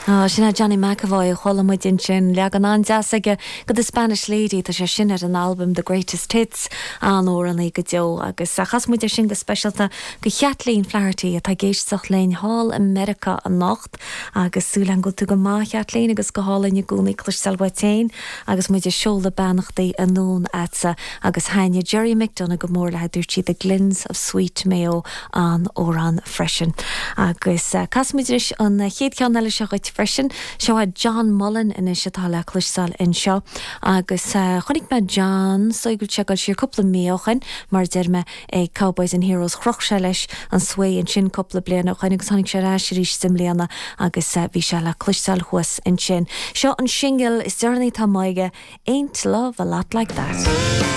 Sin é Johnny McEvoy a chuala muid ansin. Leagan an-deas aige de The Spanish Lady, tá sé sin ar an albam The Greatest Hits, an-amhránaí go deo. Agus chas muid é sin go speisialta do Chaitlín Flaherty atá ag éisteacht linn thall i Meiriceá anocht. Agus súil agam go bhfuil tú go maith, a Chaitlín, agus go hálainn i gcónaí cloisteáil uait féin agus muid ag seoladh beannachtaí anonn a'dsa. Agus thaitnigh Gerry McDonagh go mór léi, dúirt sí The Glens of Sweet Mayo an-amhrán freisin. Agus casfaidh muid anois an chéad cheann eile seo dhuit freisin. Seo é John Mullen anois atá le cloisteáil anseo. Agus chonaic mé John, is dóigh go bhfuil sé ag dul siar cúpla mí ó shin, mar a deir mé, ag Cowboys and Heroes. Chroch sé leis an svae ansin cúpla bliain ó shin agus tháinig sé ar ais arís i mbliana agus bhí sé le cloisteáil thuas ansin. Seo an singil is deireanaí atá amuigh aige, Ain't Love a Lot Like That.